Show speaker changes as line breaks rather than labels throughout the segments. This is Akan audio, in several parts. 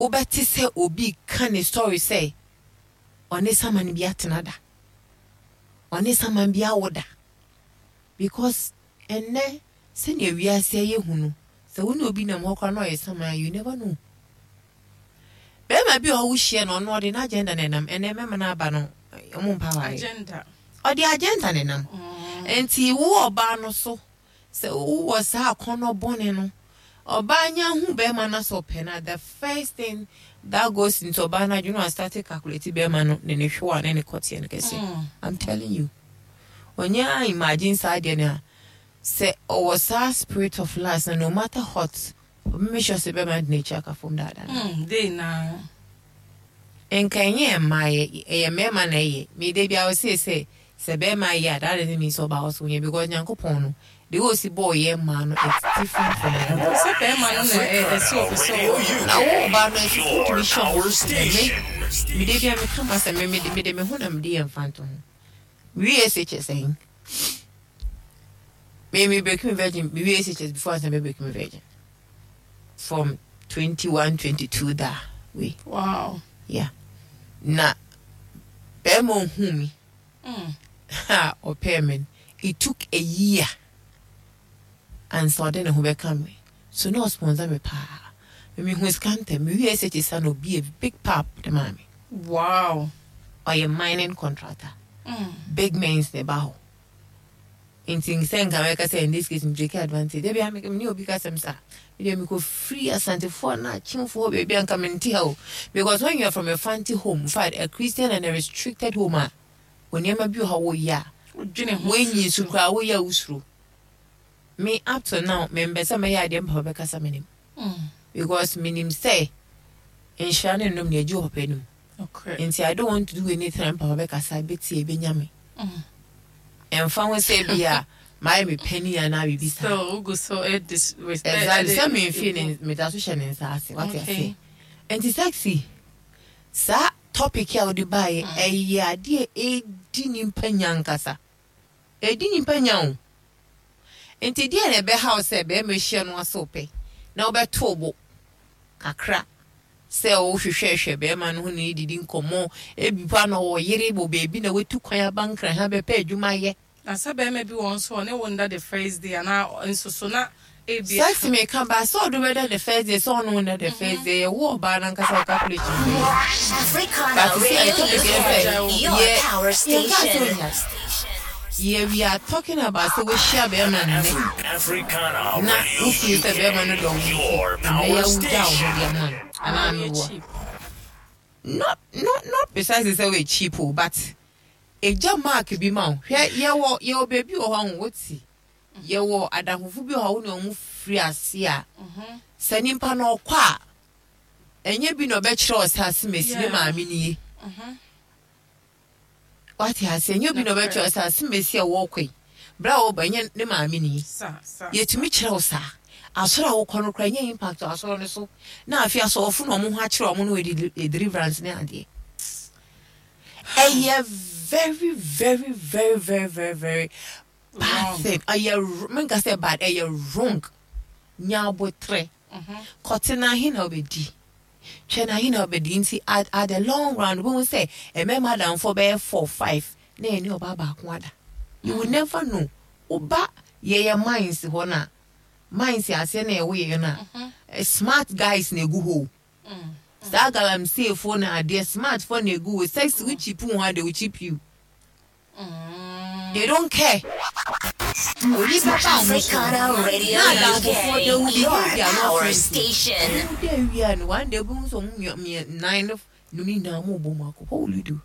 Wobɛte sɛ obi reka ne story sɛ ɔne saman bi atena da, ɔne saman bi awo da. Because ɛnnɛ sɛnea wiase ayɛ hu no, sɛ wo ne obi nam hɔ koraa na ɔyɛ saman a, you never know. Bɛrima bi wɔ hɔ wohyia no, ɔno ɔde n'agenda na ɛnam. Ɛnnɛ mmarima no aba no, wɔn mpa awareɛ.
Agenda.
Ɔde agenda na ɛnam. Nti wo ɔbaa no so Sɛ wowɔ saa akɔnnɔ bɔne no, ɔbaa nya hu bɛrima no sɛ ɔpɛ no a, the first thing that goes into ɔbaa no adwene wa start calculate bɛrima no ne ne hwewa ne ne kɔteɛ no kɛse. Mm. I'm telling you. Ɔnya imagine saa deɛ no a, sɛ ɔwɔ saa spirit of lust no, no matter what, ɔbɛ make sure sɛ bɛrima no de n'akyi aka fam daadaa no.
Mm, day na.
Nka ɛnyɛ mmaa yɛ, ɛyɛ mmarima na ɛyɛ. Me da biara ɔsee sɛ Sɛ bɛɛma yɛ a that doesn't mean sɛ ɔbaa ɔso nyɛ because Nyankopɔn no the way osi bɔɔ yɛn mmaa no it's different from mmarima.
Sɛ bɛɛma no na ɛsɛ ɔpɛ sɛ ɔ.
Na wo ɔbaa no ɛsɛ sɛ wotumi hyɛ wo ho so sɛ me me da biara meka m'asɛm me mede mede me ho na mede yɛ mfantoho. Me wie SHS ɛn me me break me virgin me wie SHS before ansa me break me virgin from 21 22 da way.
Wow.
Yeah. Na bɛɛma ohun mi a ɔpɛɛ me no, it took a year ansa ɔde ne ho bɛka me. So na ɔsponsor me paa. Me mehu sika ntɛm. Me wie SHS a na obi a big pap de maa me.
Wow.
Ɔyɛ mining contractor. Big mens na ɛba hɔ. Nti sɛ nka mɛka sɛ in this case me take advantage. Dabi a me ne obi kasɛm saa. Me deɛ mekɔ free Asantefoɔ na Akyemfoɔ baabi a nka mente ha o. Because when you are from a fanti home, in fact a Christian and a restricted home a, onneɛma bi wɔ hɔ woyɛ a, woanyi nso koraa woyɛ a wosuro. Me up to now mempɛ sɛ mɛyɛ adeɛ me papa bɛkasa m'anim. Because menim sɛ nhyira ne nnom deɛ ɛgye wɔ papa anim. Nti I don't want to do anything a me papa bɛkasa bɛtie bɛnya me. Ɛmfa ho sɛ bi a mayɛ me panin anaa biribi saa.
So wogu so disrespect.
Exactly sɛ memfii ne meda so hyɛ ne nsa ase wate ase. Nti sexy saa topic a wode baeɛ ɛyɛ adeɛ a ɛdi nipa nya ankasa. Ɛdi nipa nya o. Nti deɛ na ɛbɛha wo sɛ bɛrima hyia no ase wopɛ na wobɛto wo bo kakra sɛ wohwehwɛhwɛ bɛrima no ho ne no didi nkɔmmɔ, ebi mpo a na ɔwɔ yere wɔ baabi na watu kwan aba Nkran ha bɛpɛ adwuma ayɛ.
Na sɛ bɛrima bi wɔ hɔ nso a ɔne wo nda the first day anaa nso so na ebia.
Sex meka ba sɛ ɔde wo bɛda the first day sɛ ɔne wo nda the first day ɛyɛ wo ɔbaa no ankasa wo calculation bɛyɛ. But sisi a yɛ topic ne sɛ yɛ yɛnkaa sɛ onya. Yɛ we are talking about sɛ woahyia bɛrima nnɛ na wo feel sɛ bɛrima no dɔ wo nti nnɛ yi a wogyaa wo ho de ama no anaa meboa? Not not not precisely sɛ woyɛ cheap o but egya mark bi ma wo. Hwɛ yɛwɔ yɛwɔ baabi wɔ hɔ a ho wote yɛwɔ adamfofo bi wɔ hɔ a wo ne wɔn firi ase a sɛ nipa no ɔkɔ a ɛnyɛ bi na ɔbɛkyerɛ wo sɛ asemesi me maame nie. Wate aseɛ? Ɛnyɛ obi na ɔbɛkyerɛ wo sɛ asɛm a ɛsi a wɔrekɔ yi, berɛ a wɔreba ɛnyɛ ne maame ni. Yɛtumi kyerɛ wo saa. Asɔre a wokɔ no koraa ɛnyɛ impact wɔ asɔre no so. Na afei asɔfo na wɔn ho akyerɛ wɔn no wɔ deliverance ne adeɛ. Ɛyɛ very very very very very very bad thing. Ɛyɛ menka sɛ bad, ɛyɛ wrong. Nya abotrɛ. Kɔte na ahe na wobɛdi. Twɛn ahe na ɔbɛdi nti at at the long run wobɛhu sɛ mmarima adamfoɔ bɛyɛ four five na ɛne ɔbaa baako ada. You will never know. Woba yɛyɛ mines hɔ no a, mines aseɛ na ɛwɔ yɛn no a, eh, smart guys na egu hɔ o. Saa galamseyfoɔ na adeɛ smartfoɔ na egu hɔ. Sex wo cheap wo ho a they will cheap you. They don't care. Onipa ba a ɔmo so no,
Radio
na
UK,
adamfofoɔ they will
your
behave they are not
power
friendly.
station.
Ɔmo da awie a no one day wobɛhu sɛ ɔmo mmea mmea nnan no no nyinaa ɔmo bɔ mu akɔ. What will you do?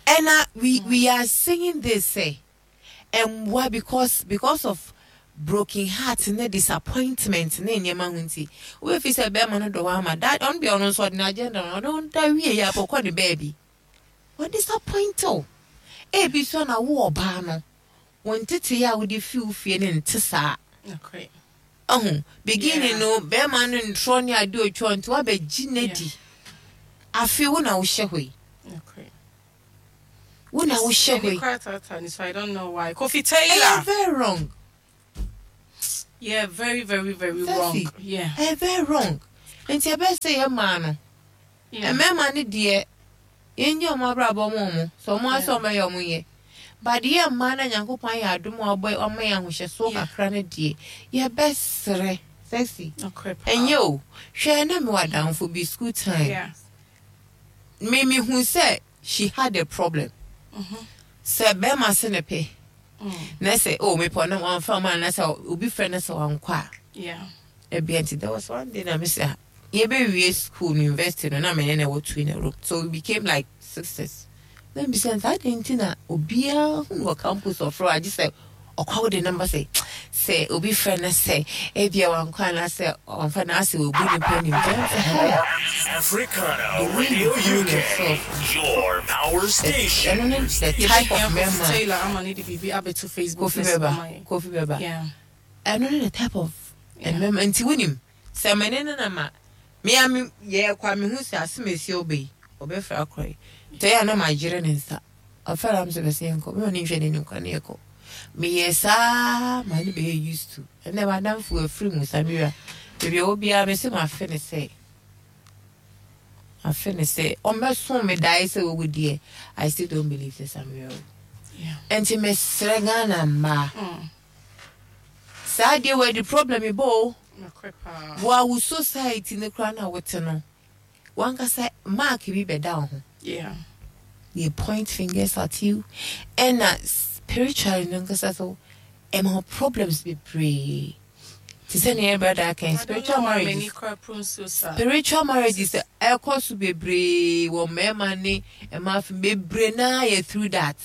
Ɛna we we are saying this sɛ ɛmmoa because because of broken heart ne disappointment ne nneɛma ho nti wobɛfi sɛ bɛrima no dɔ hɔ ama da ɔno deɛ ɔno nso ɔde n'agenda no ɔno da wie yɛ akɔkɔ ne baabi. Wa disappoint wo. Ebi nso a na wo ɔbaa no, wo ntetee a wode fi wo fie no nte saa. Ahu, beginning no, bɛrima no ntorɔ ne ade otwa nti wabɛgye n'adi. Afei wo na wohyɛ hɔ yi. Wo na wohyɛ hɔ
yi. So I don't know why. Kofi Taylor.
Ɛyɛ very wrong.
Yeah, very, very, very wrong. Yeah.
Ɛyɛ very wrong. Nti ɛbɛyɛ sɛ yɛ maa no. Mmarima no deɛ, yɛngye wɔn abrabɔ ma wɔn. Sɛ wɔn ara sɛ wɔbɛyɛ wɔn yɛ. But yɛ mmaa no a Nyankopɔn ayɛ adom a ɔbɔ wama yɛn ahohyɛsoɔ kakra no deɛ, yɛbɛsrɛ. Sexy. Ɛnyɛ o. Hwɛ na mewɔ adamfo bi school time. Me mehu sɛ she had a problem. Sɛ bɛrima se ne pɛ. Na sɛ oh mepɛ na wamfa ma na sɛ obi frɛ na sɛ wankɔ a. Ebia nti there was one day na me sɛ yɛbɛwie school no university no na me ne na ɛwɔ two in a room so we became like sisters. Na mbisa no sɛ adɛn nti na obiara hu wɔ campus ɔfrɛ agye sɛ ɔkɔ wode number sɛ sɛ obi frɛ no sɛ ebia wankɔ anaasɛ ɔmfa no asɛ obu nipa nim kyɛ sɛ hey.
Africana
The way
Radio
you carry
UK,
yourself
your power station.
ɛno ne the type of
Yɛbɛhia Kofi
mmarima
Taylor ama ne de biribi abɛto Facebook
Kofi
ne so
bɛba
ama yɛn.
Kofi bɛba
Yeah.
ɛno ne the type of mmarima nti wonim sɛ mene ne na ma mea me yɛ kwa me hu sɛ asɛm esi ɔbɛ yi ɔbɛfrɛ akɔrɔ yi nti ɛyɛ a na magyere ne nsa ɔfɛre am sɛ bɛsɛ yɛnkɔ mema ne nhwɛ n'anim kora ne yɛkɔ meyɛ saa ma ne bɛyɛ used to ɛnɛ madamfo afiri mu Samira baabi a ɔwɔ biara me sɛ mafe ne sɛ afe ne sɛ ɔmmɛso me dae sɛ wɔwu deɛ I still don't believe sɛ Samira wu. Nti mesrɛ Ghana mmaa saa deɛ wɔ de problem bɔ o.
Nokorɛ paa.
Wɔ wo society no koraa na wote no wankasa mark bi bɛda wo ho.
Yeah.
They point fingers at you ɛna spiritually no nkasa so ɛma wo problems bebree te sɛ nea brother aka yi,
I don't
spiritual
know why
marriages
m'ani kora pro nsuo saa.
Spiritual marriages ɛkɔ so bebree wɔ mmarima ne mmaa fam bebree naa yɛ through that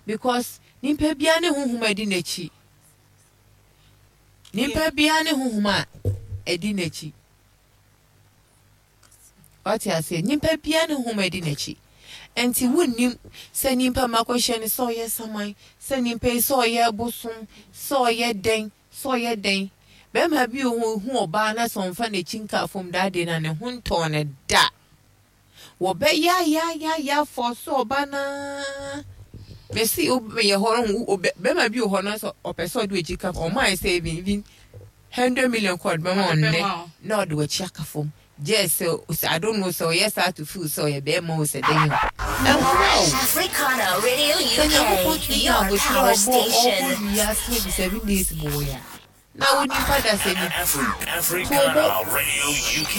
because nipa biara ne honhom a ɛdi n'akyi nipa biara ne honhom a ɛdi n'akyi wate aseɛ nipa biara ne honhom a ɛdi n'akyi nti wonnim sɛ nipa makɔhyɛ no sɛ ɔyɛ saman sɛ nipa yi sɛ ɔyɛ bosom sɛ ɔyɛ dɛn sɛ ɔyɛ dɛn bɛrima bi wɔ hɔ hu ɔbaa na sɛ ɔmfa n'akyi nka fam daa de na ne ho ntɔɔ ne da wɔbɛyayayaya fɔ so ɔba naa mesi yɛ hɔ no bɛrima bi wɔ hɔ no sɛ ɔpɛ sɛ ɔde akyi ka fam ɔmo ayɛ sɛ even 100 million kɔ ɔde bɛma
Ɔde
ɔnnɛ
bɛma wo.
na ɔde w'akyi aka fam gye sɛ I don't know sɛ ɔyɛ saa to feel sɛ ɔyɛ bɛrima o sɛ dɛn o ɛmmoa o.
Africana Radio
Sɛ Nyankopɔn
UK,
tumi nya
your
abotire
power
a ɔbɔ ɔbɔ
station.
wiase adi 7 days bɔ yɛ a na wo nipa da sɛ ni
Africana Radio UK,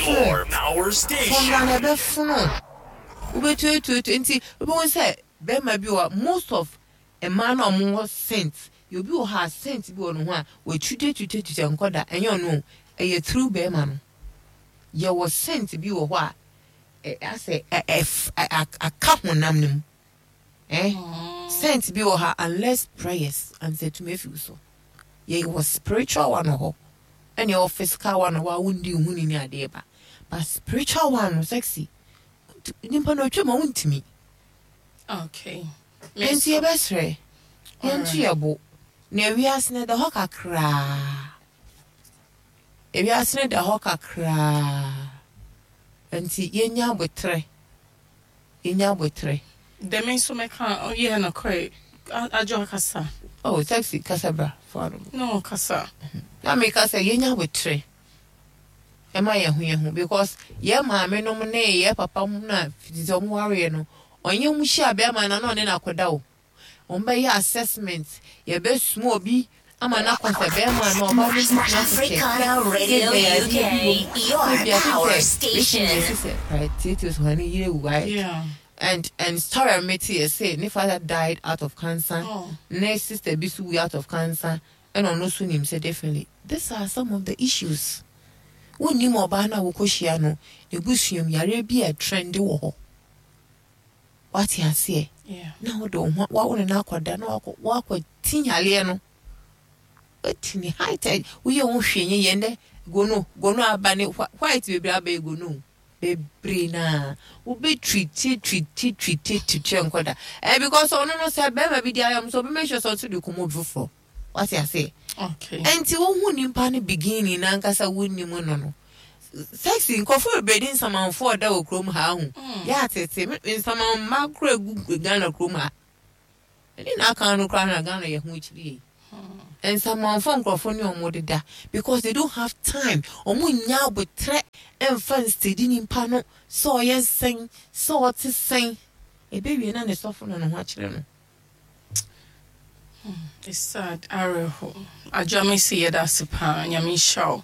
your power station.
Fɔmla na ɛbɛfono wobɛtuatuatu nti wobɛhu sɛ bɛrima bi wɔ most of mmaa no a ɔmo wɔ scent yɛ obi wɔ hɔ a scent bi wɔ ne ho a wɔatwitwatwitwatwitwa nkɔda ɛnyɛ ɔno o ɛyɛ through bɛrima no yɛwɔ scent bi wɔ hɔ a ɛ asɛ ɛ ɛ ɛ aka honam no mu scent bi wɔ ha unless prayers ansɛ tumi afi wo so yɛwɔ spiritual one wɔ hɔ ɛna yɛwɔ physical one wɔ hɔ a wondi ho ni ne adeɛ ba but spiritual one no sexy nipa no otwa ma wontumi.
Okay.
Nti yɛbɛsrɛ yɛnto yɛ bo na ewiase no da hɔ kakraa ewiase no da hɔ kakraa nti yɛnya abotrɛ yɛnya abotrɛ.
Dɛm nso mɛka yɛ nokorɛ adwo akasa.
Oh, sexy kasa bra fa no.
No kasa.
Na meka sɛ yɛnya abotrɛ ɛma yɛn ho yɛn ho because yɛn maame nom ne yɛn papa mu na fiti sɛ ɔmo wareɛ no ɔnyɛ mu hyia bɛrima na na ɔne no akɔda o wɔn bɛyɛ assessment yɛbɛsoma obi ama no akɔ sɛ bɛrima no ɔba no bi tena so
Africana Radio UK, your power station.
Tietie so hɔn yere wu right
Yeah.
And story a mete yɛ sɛ ne father died out of cancer.
Oh.
Ne sister bi so wu out of cancer ɛna ɔno nso nim sɛ definitely these are some of the issues wonnim ɔbaa no a wokɔhyia no n'ebusuam yareɛ bi a trend wɔ hɔ wate aseɛ
Yeah.
na wode wo ho wawo ne no akɔda na wakɔ ti yareɛ no wati ne height a woyɛ wo hwee nyɛ yɛn dɛ gono gono aba ne white bebree aba yɛ gono bebree naa wobɛtwi tie twi tie twi tie twi tie nkɔda because ɔno no sɛ bɛrima bi di ayɛ so ɔbɛ make sure sɛ ɔso de kɔmɔ obi foforɔ wate aseɛ.
Okay.
Ɛnti wohu nipa no beginning nankasa wonnim no sexy nkɔfo bebree de nsamanfoɔ ɔda wɔ kurom ha ho yɛ atete nsaman mma kora gu Ghana kurom ha ɛne na aka no koraa na Ghana yɛ ho akyiri yie. Nsamanfoɔ nkurɔfoɔ ne ɔmo deda because they don't have time. Ɔmo nnya abotrɛ ɛmfa nsedi nipa no sɛ ɔyɛ sɛn, sɛ ɔte sɛn. Ɛbɛwie na ne sɔfo na ne ho akyerɛ no.
It's sad, awerɛho. Adwoa Mesi yɛda ase paa, Nyame nhyira wo.